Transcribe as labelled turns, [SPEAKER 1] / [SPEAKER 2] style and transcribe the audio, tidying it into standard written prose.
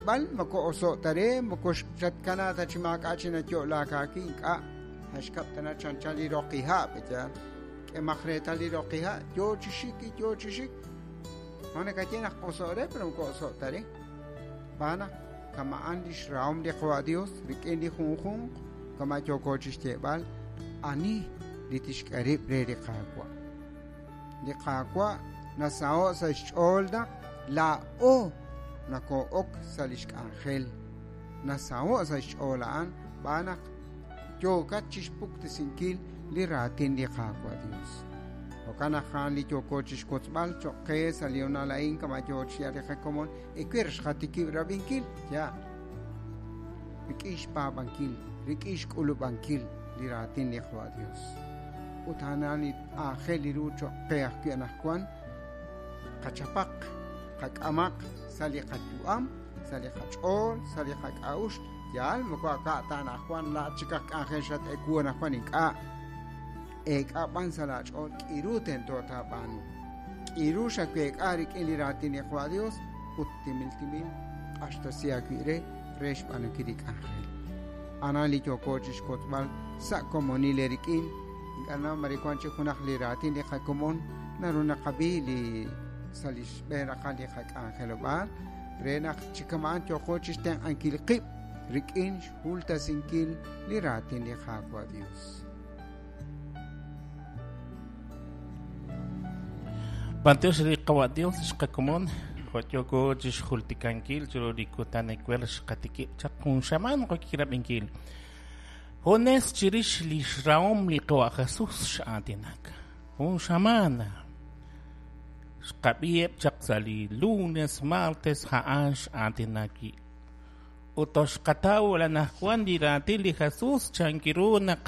[SPEAKER 1] B'al moko oso'k ta re, moko xatkanaak ta chi maak'a' chi nayo'laak aawi', ink'a', xkab' tana chanchan li roqiha', pe'yaal? K'emaq reetal li roqiha', yo chi xik, yo chi xik. Ma nakaye naq oso'k re, pero moko oso'k ta re. Xb'aan naq kama'an li xrahom li Qawa' Dios rik'in li junjunq, kama' yooko chi xyeeb'al, ani li tixk'e rib' re li Qaawa'. Li Qaawa' nasaho' sa' xch'ool naq laa'o nakoo'ok sa' li xk'anjel. Nasaho' sa' xch'ool a'an xb'aan naq yookat chixpuktesinkil li raatin li Qaawa' Dios. Jo'kan naq a'an li yooko chixwotzb'al choq' qe sa' li honal a'in kama' yoo chi li qakomon ewer xqatikib' rab'inkil ya rik'in xpaab'ankil, rik'in xk'ulub'ankil li raatin li Qaawa' Dios. Ut a'an li aajel ru choq' qe ajwi' anaqwan qachapaq, qak'amaq sa' li qayu'am, sa' li qach'ool, sa' li qak'a'uxl. Yaal moko aka' ta anaqwan laa'at chik aj k'anjel xat-ewu anaqwan ink'a'. Eek'a b'an sa' laach'ool k'iru tento taab'aanu. K'iru xaweek'a rik'in li raatin li Qaawa' Dios ut timil timil q'axtesi aawib' re re xb'aanunkil li k'anjel. Anan li yooko chixwotzb'al sa' komonil eerik'in. Ink'a' naw mare wan chik junaq li raatin li qakomon naru naqab'i li sa' li xb'een raqal li qak'anjelob'aal re naq chi kama'an yooqo chixtenq'ankil qib' rik'in xjultasinkil li raatin li Qaawa' Dios.
[SPEAKER 2] B'antiox li Qawa' Dios xqakomon jo' yooko chixjultikankil chiru li kutan ewer xqatikib' chaq jun xamaan qokirab'inkil. Junes chirix li xrahom li Qawa' Jesus x'aatinak. Jun xamaan xqab'iheb' chaq sa' li lunes, martes, a'an x'aatinak wi'. Ut toxqataw anaqwan li raatin li Jesus chankiru naq